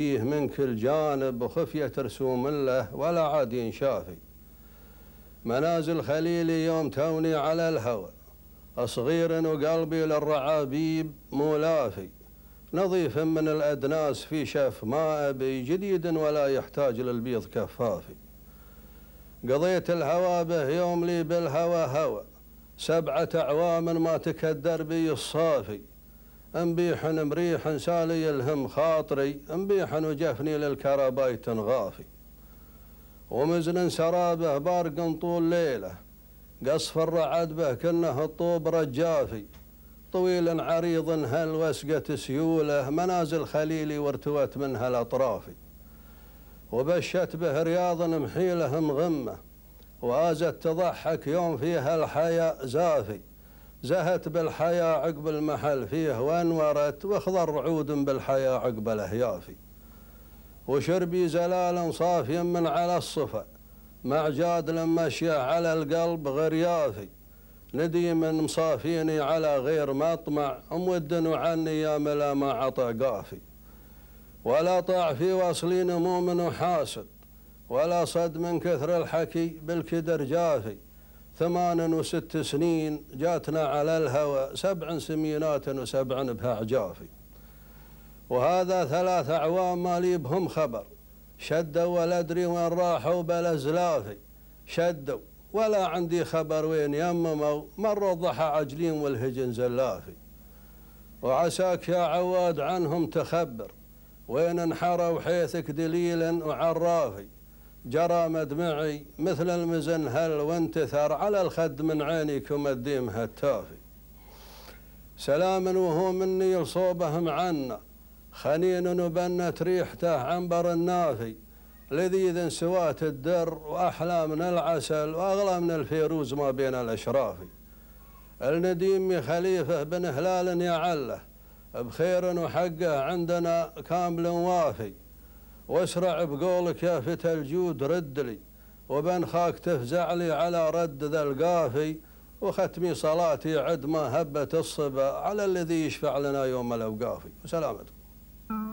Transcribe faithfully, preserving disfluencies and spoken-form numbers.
فيه من كل جانب وخفية رسوم له ولا عاد ينشافي. منازل خليلي يوم توني على الهوى صغير وقلبي للرعابيب مولافي، نظيف من الأدناس في شف ما أبي جديد ولا يحتاج للبيض كفافي. قضيت الهوى به يوم لي بالهوى هوى سبعة أعوام ما تكدر بي الصافي، انبيح مريح سالي يلهم خاطري انبيح وجفني للكربايت غافي. ومزن سرابه بارق طول ليله قصف الرعد به كنه الطوب رجافي، طويل عريض هل وسقة سيوله منازل خليلي وارتوت منها الأطرافي. وبشت به رياض محيله مغمه وازت تضحك يوم فيها الحياء زافي، زهت بالحياة عقب المحل فيه وانورت واخضر عود بالحياة عقب الأهيافي. وشربي زلال صافي من على الصفا مع جاد مشي على القلب غريافي، نديم مصافيني على غير مطمع مود وعني يا ملا ما عطى قافي. ولا طاع في وصلي نموم وحاسد ولا صد من كثر الحكي بالكدر جافي، ثمان وست سنين جاتنا على الهوى سبع سمينات وسبع بها عجافي. وهذا ثلاث أعوام ما لي بهم خبر، شدوا ولا أدري وين راحوا بلا زلافي، شدوا ولا عندي خبر وين يمموا مروا الضحى عجلين والهجن زلافي. وعساك يا عواد عنهم تخبر وين انحروا حيثك دليل وعرافي، جرى مدمعي مثل المزن هل وانتثر على الخد من عينيكم الديم هتافي. سلام وهو مني لصوبهم عنا خنين وبنت ريحته عنبر النافي، لذيذ سوات الدر وأحلى من العسل وأغلى من الفيروز ما بين الأشرافي. النديم خليفة بن هلال يعله بخير وحقه عندنا كامل وافي، واسرع بقولك يا فتى الجود ردلي وبن خاك تفزع لي على رد ذا القافي. وختمي صلاتي عد ما هبت الصبا على الذي يشفع لنا يوم الأوقافي. وسلامتكم.